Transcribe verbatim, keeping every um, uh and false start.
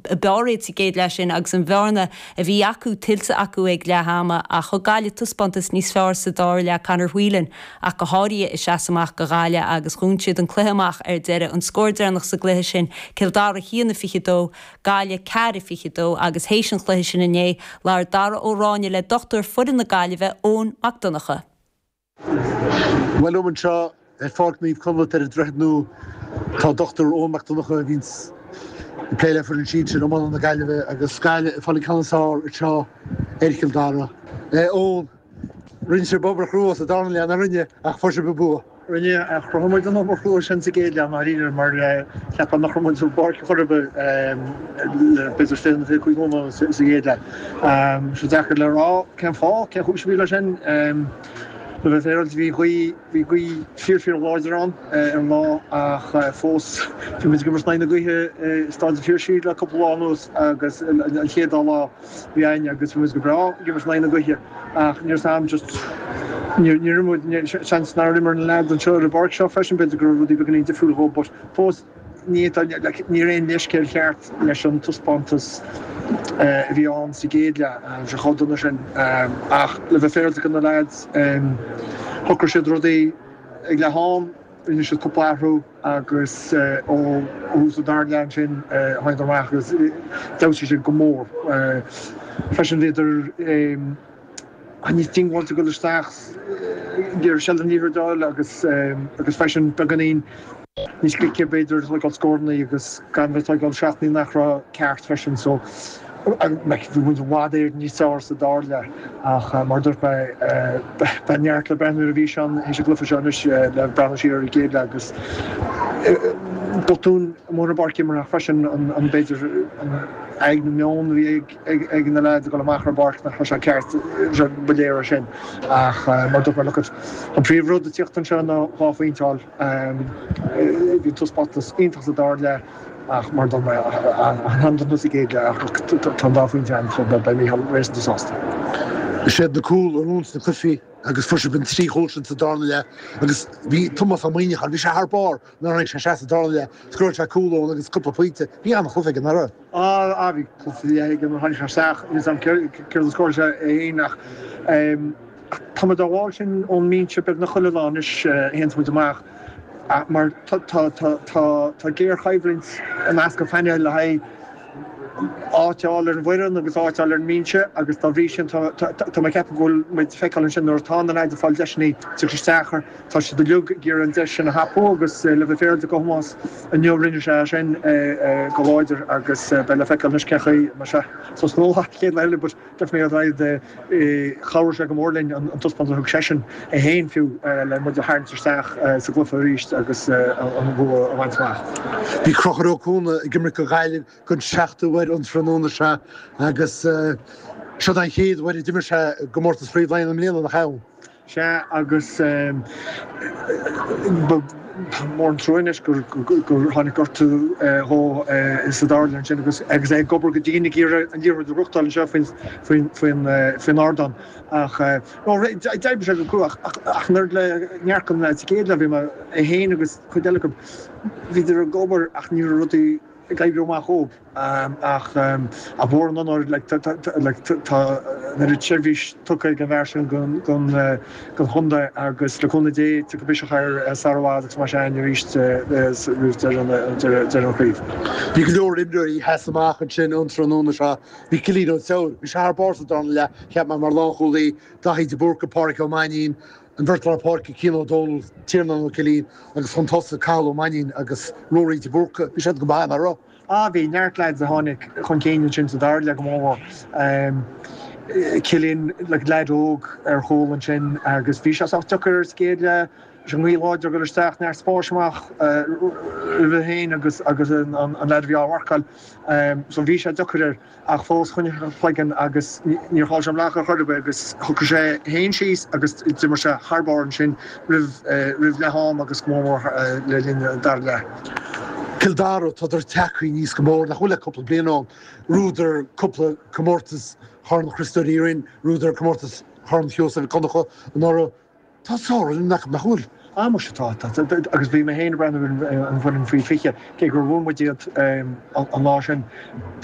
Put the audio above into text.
b'fhearr iad sa gcéad leath sin agus an bhearna a bhí acu tuillte acu ag leath ama ach thug Gaillimh taispeántas níos fearr sa dara leath Conor Whelan ach go háirithe ag seasamh amach do Ghaillimh agus dhún siad an cluiche amach ar deireadh an scór deireanach sa gcluiche sin Cill Dara haon a fiche dó Gaillimh ceathair a fiche dó agus théis an chluiche sin inné labhair Dara Ó Ráinne le dochtúir foireann na Gaillimhe Eoin Mac Donncha. Well liom anseo ar Pháirc Naomh Conleth ar an Droichead Nua tá Dr Eoin Mac Donncha a bhíonns ag plé le foireann sinsir iomána na Gaillimhe agus Gaillimh ag fáil an ceann is fearr anseo ar Chill Dara. Eoin, rinne sibh obair chrua sa darna leath, nach rinne ach fuair sibh an bua. Rinne ach chruthaigh muid an obair chrua sin sa gcéad leath ndáiríre mar cheapfá nach raibh muid ar bpáirc chor ar bith le b'fhéidir fiche nó fiche cúig nóiméad sa gcéad leath. Sé deacair le rá cén fáth, cén chúis a bhí leis sin. Le bheith féaráilte bhí gaoth bhí gaoth fíor fíor láidir ann ar an lá ach fós bhí muid ag imirt in aghaidh na gaoithe i Staid an Phiarsaigh le cúpla lá anuas agus an chéad dá lá bhí againn agus bhí muid go breá ag imirt in aghaidh na gaoithe ach níor sam just níor níor muid seans nár imir na leaids anseo ar an bpáirc seo freisin b'fhéidir go raibh rudaí beagáinín difriúil dhóibh but fós ní ní raibh aon leithscéal ceart leis an taispeántas a bhí ann sa gcéad leath sé chomh dona sin ach le bheith féaráilte do na leaids shocraigh siad rudaí ag leath am rinne siad cúpla athrú agus ó thús an dara leath ansin tháinig amach agus d'fheabhsaigh siad go mór freisin bhíodar níos diongbháilte dul isteach ag seilbh an liathróid a fháil agus agus freisin beagáinín níos glice b'fhéidir ag tógáil scóranna agus gan bheith ag tógáil seachtaí nach raibh ceart freisin so bhí muid i bhfad Éireann níos fearr sa dara leath ach mar dúirt mé beidh neart le breathnú ar an bhfíseán théis an gcluiche seo anois le breathnú siar ar an gcéad leath agus botún mór na bpáirc imeartha freisin an b'fhéidir an aghaidh na meon a bhí ag ag na leaids ag dul amach ar an bpáirc nach raibh sé ceart ba léir é sin ach mar dúirt mé look an príomhrud ag tíocht anseo ná dhá phointe a fháil bhí taispeántas iontach sa dara leath ach mar dúirt mé an-dona sa gcéad leath ach tá an dá phointe ann so beidh Mícheál réasúnta sásta. Is iad na cúil a bhuann na cluichí agus fuair sibh an trí chúl sin sa darna leath agus bhí Tomás Ó Muimhneacháin bhí sé thar barr nuair a tháinig sé isteach sa darna leath scóráil sé cúl ann agus cúpla pointe bhí an-chluiche aige nach raibh. Á bhí cluiche aige nuair a tháinig sé isteach céard a scóráil sé é féin ach tá muid á bhfáil sin ón mbinse beagnach chuile lá anois a théann muid amach mar tá géarchoimhlint i measc an phainéil le haghaidh áit a fháil ar an bhfoireann agus áit a fháil ar an mbinse agus dá bhrí sin tá mé ag ceapadh go bhfuil muid feiceáil ansin nuair atá na leaids ag fáil deiseanna teacht isteach tá siad uilig ag iarraidh an deis sin a thapú agus le bheith féaráilte do Thomás inniu rinne sé sin go láidir agus beidh le feiceáil anois cén chaoi mar sé so snó chéad eile but definitely ar aghaidh chabhraigh sé go mór linn an taispeántas a thug seisean é féin fiú le muid a tharraingt isteach sa gcluiche arís agus an bua a bhaint amach. Bhí Conchúr Ó Cuana ag imirt do Ghaillimh don seachtú huair an tráthnóna seo agus seo an chéad uair a d'imir sé i gcomórtas Chraobh Laighean i mbliana nach ea. Sea agus mór an trua anois gur gur tháinig gortú dhó sa dara leath ansin agus agus é ag obair go dian ag iarraidh an liathróid a ghnóthachtáil anseo faoin faoin faoin faoin ardán ach no d'oibrigh sé go crua ach ach nuair le neart an sa chéad leath bhí mé é féin agus cuid eile acu bhíodar ag obair ach ní raibh rudaí ag oibriú amach dhóibh ach a mhór an onóir tá an oiread seirbhís tugtha ag an bhfear sin don don chontae agus le cúnamh Dé tiocfaidh biseach air sara i bhfad agus mar sin arís roimh deireadh an chraobh. Bhí go leor imreoirí a sheas amach ansin an tráthnóna seo. Bhí Cillian Ó Treabhair, bhí sé thar barr sa darna leath, cheap mé mar lánchúlaí, Daithí de Búrca, Pádraic Ó Mainnín, an bheirt lár páirce Cian Ó Dónaill, Tiarnán Ó Cillín agus chun tosaigh Cathal Ó Mainnín agus Ruairí de Búrca. Bhí siad go maith nach raibh. Ah bhí neart lads a tháinig chun cinn ansin sa dara leath go mór. Cillian le leaid óg ar chúl ansin agus bhí sé sách deacair ar sa gcéad leath sé an ghaoth láidir dul isteach neart spáis amach roimhe féin agus agus an leaid a bhí á mharcáil. So bhí sé deacair air ach fós choinnigh sé a chloigeann agus níor chaill sé an bhleach ar chor ar bith agus shocraigh sé féin síos agus d'imir sé thar barr ansin roimh roimh leath am agus go mór mór le linn an dara leath. Cill Dara tá tagtha aníos go mór nach bhfuil le cúpla bliain ann. Bhuadar cúpla comórtas Chorn Chriostóir Uí Rinn, bhuadar comórtas Chorn Sheosaimh Mhic Donncha anuraidh. Tá sár-fhoireann acu nach bhfuil. Ah muise tá agus bhí mé féin ag breathnú ar an bhfoireann faoi fiche cé gur bhuail muid iad an lá sin.